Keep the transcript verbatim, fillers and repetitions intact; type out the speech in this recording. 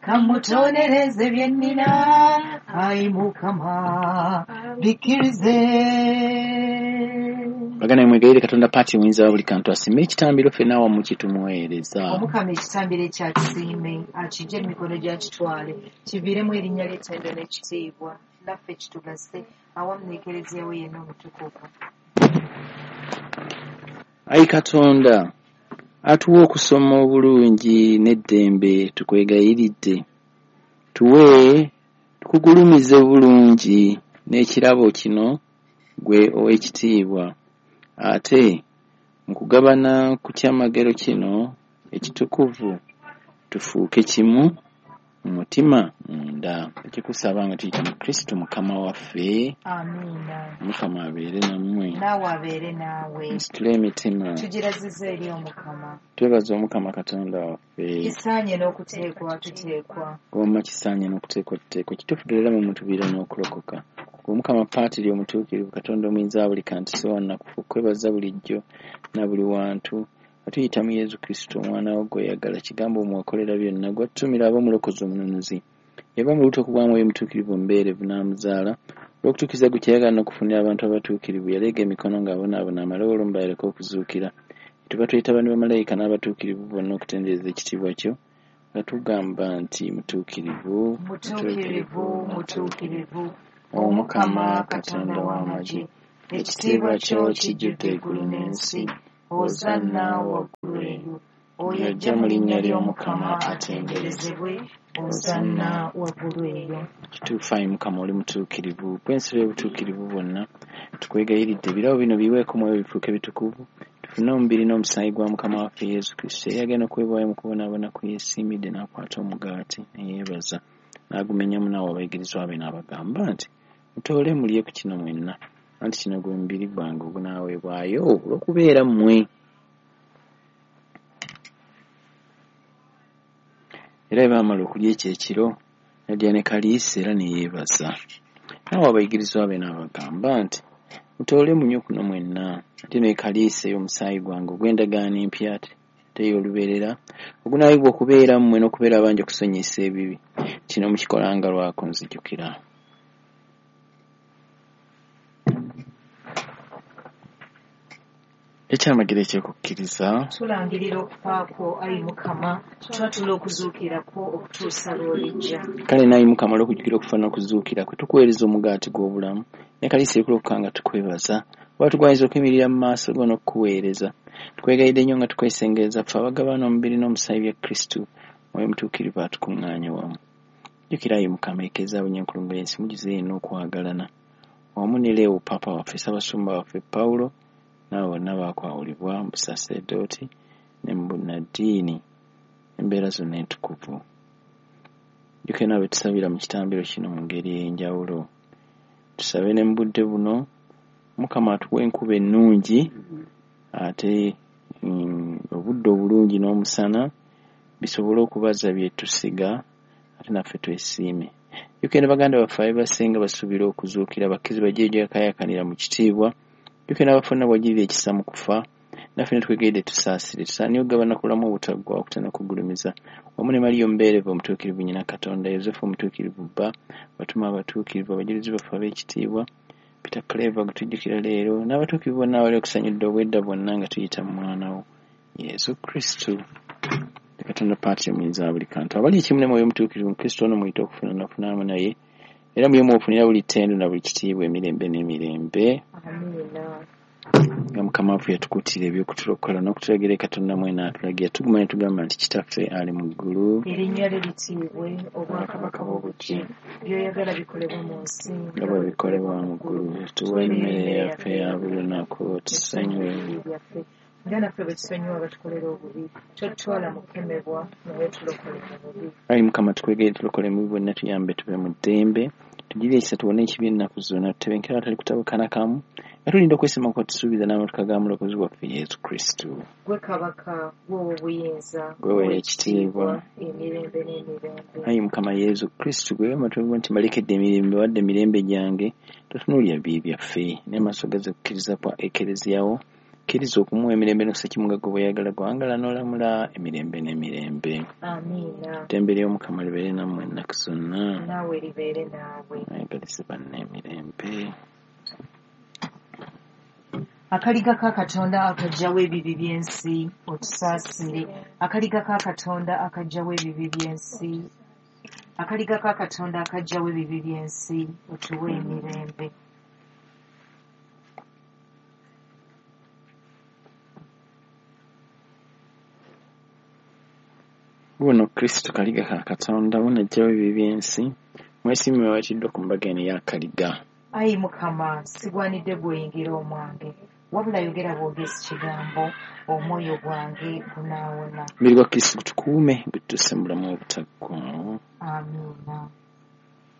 Kamutonereze bye nnina, ayi Mukama bikkirize. Baganda mwegayirire Katonda Paati omuyinza wa buli kantu asiime ekitambiro ffenna awamu kye tumuweereza. Omukama ekitambiro ekyakisiime akijje mu mikono gy'akitwale kiviiremu erinnya ly'ettendo n'ekitiibwa naffe kitugase awamu n'Ekereziya we yenna omutukuvu. Ayi Katonda atuwa okusoma obulungi n'eddembe tukwegayiridde tuwe tukugulumize bulungi n'ekirabo kino gwe ow'ekitiibwa ate mu kugabana ku kyamagero kino ekitukuvu tufuuke kimu mu mutima munda. Tukusaba nga tuyita mu Kristo Mukama waffe. Amiina. Mukama abeere nammwe. Naawe abeere naawe. Musitule emitima. Tugirazizza eri Omukama. Twebaza Omukama Katonda waffe. Kisaanye n'okuteekwa tuteekwa. Goma kisaanye n'okuteekwa tuteekwa. Kituufu ddala mu mutubiira n'okulokoka. Omukama Paatiri omutuukirivu Katonda omuyinza wa buli kantu si wa nnakufu kwebaza bulijjo na buli wantu. Atuyita mu Yesu Kristo omwana wo gw'oyagala kigambo omwakolera byonna gw'atutumira abe omulokozi omununuzi. Yava mu lubuto okugwa Mwoyo Mutuukirivu omubeerevu n'amuzaala olw'okutuukiriza gwe kyeyagala n'okufunira abantu abatuukirivu yaleega emikono ng'abonaabona amale olumba yaleke okuzuukira. Tuba tuyita bano bamalayika n'abatuukirivu bonna okutendereza ekitiibwa kyo nga tugamba nti mutuukirivu, Mutuukirivu, mutuukirivu, Omukama Katonda w'amagye, ekitiibwa kyo kijjudde eggulu n'ensi. Hosanna waggulu eyo. Oyo ajja mu linnya ly'Omukama atenderezebwe. Hosanna waggulu eyo. Kituufu ayi Mukama oli mutuukirivu, gw'ensibo y'obutuukirivu bwonna. Tukwegayiridde ebirabo bino biweeko Mwoyo bifuuke bitukuvu, tufune omubiri n'omusaayi gwa Mukama waffe Yesu Kristo eyagenda okuweebwayo mu kubonaabona kwe yeesiimidde n'akwata omugaati ne yeebaza n'agumenyamu n'awa abayigirizwa be n'abagamba nti mutoole mulye ku kino mwenna, anti kino gwe mubiri gwange ogunaaweebwayo olw'okubeera mmwe. Era bwe baamala okulya ekyo ekiro n'addira ne kaliisi era ne yeebaza n'awa abayigirizwa be n'abagamba nti mutoole munywe kuno mwenna, ate ne kaliisi ey'omusaayi gwange ogw'endagaano empya ate ey'olubeerera ogunaayibwa okubeera mmwe n'okubeera abangi okusonyiyisa ebibi. Kino mukikolanga lwa kunzijukira. Ekyamagero eky'okukkiriza. Tulangirira okufa kwo ayi Mukama, twatula okuzuukira kwo okutuusa lw'olijja. Kale n'ayi Mukama olw'okujjukira okufa n'okuzuukira kwe tukuweereza omugaati gw'obulamu ne kaliisi ekulokoka nga tukwebaza oba tugwanyiza okuyimirira mu maaso go n'okukuweereza. Tukwegayiridde nnyo nga tukwesengereza ffe abagabana omubiri n'omusaayi bya Kristo, Mwoyo Mutuukirivu atukuŋŋaanye wamu. Jjukira ayi Mukama ekereziya bunyenkulungo y'ensi mugize yenna okwagalana wamu ne Leo Paapa waffe, Ssaabasumba waffe Pawulo, n'abo bonna baakwawulibwa mu busaserdooti ne mu bunnaddiini embeera zonna entukuvu. Jjukira nabo be tusabira mu kitambiro kino mu ngeri ey'enjawulo. Tusabe ne mu budde buno Mukama atuwe enkuba ennungi ate mm, obudde obulungi n'omusana bisobole okubaza bye tusiga ate naffe twesiime. Jjukira ne baganda baffe abeebasenga basuubira okuzuukira bakkirize bajje gyakaayakanira mu kitiibwa. Jjukira n'abafu bonna bw'ogirira ekisa mu kufa naffe ne twegayiridde tusaasire tusaanye okugabana ku bulamu obutaggwaawo okutana okugulumiza wamu ne Mariya omubeerevu omutuukirivu nnyina Katonda, Yosefu omutuukirivu bba, abatume abatuukirivu, abajulizi baffe ab'ekitiibwa, Peter Claver gwe tujjukira leero n'abatuukirivu bonna abali okusanyudde obwedda bwonna nga tuyita mu mwana wo Yesu Kristo. Katonda Paatiri omuyinza wa buli kantu abali ekimu ne Mwoyo Omutuukirivu mu Kristo ono muyite okufuna n'okufunamu naye era muye mwofunira buli ttendo na buli kitiibwa emirembe n'emirembe. Amiina. Nga Mukama waffe yatukuutira eby'okutulokola n'okutulagira Katonda mwene atulagira tuguma ne tugamba nti Kitaffe ali mu ggulu, Erinnya lyo litiibwe, obwakabaka bwo bujje, by'oyagala bikolebwe mu nsi nga bwe bikolebwa mu ggulu. Tuwe emmere yaffe ya buli lunaku, tusonyiwe ebibi byaffe nga naffe bwe tusonyiwa abatukolera obubi, totutwala mu kukemebwa naye tulokole mu bubi. Ayi Mukama tukwegere tulokole mu bibi bwonna tuyambe tube mu ddembe tugirire ekisa tuwone ekibi ennaku zonna tutebenkere awatali kutabukana kamu nga tulinda okwesiima kw'otusuubiza n'amatuka ga Mulokozi waffe Yesu Kristo. Gwe kabaka, gwe ow'obuyinza, Gwe weekitiibwa. emirembe n'emirembe. Ayi Mukama Yesu Kristo gwe wamatuwa nti mbalekedde emirembe wadde emirembe gyange totunuulira bibi byaffe naye maaso gaze kukkiriza kwa ekereziya wo Kkiriza okumuwa emirembe n'okussa ekimu nga ggwe bw'oyagala gwangala n'olamula emirembe n'emirembe. Amiina. Ddembe ly'Omukama libeere nammwe ennaku zonna. Naawe libeere naawe. Mwegalize banne emirembe. Akaliga ka Katonda akaggyawo ebibi by'ensi, otusaasire. Akaliga ka Katonda akaggyawo ebibi by'ensi. Akaliga ka Katonda akaggyawo ebibi by'ensi, otuwe emirembe. Wuuno Kristo kaliga ka Katonda, wuuno aggyawo ebibi by'ensi, mwesiimye abayitiddwa ku mbaga eno ey'akaliga. Ayi Mukama, sigwanidde gw'oyingira omwange, wabula yogera bwogezi kigambo, omwoyo gwange gunaawona. Omubiri gwa Kristo gutukuume gututuuse mu bulamu obutaggwaawo. Amiina.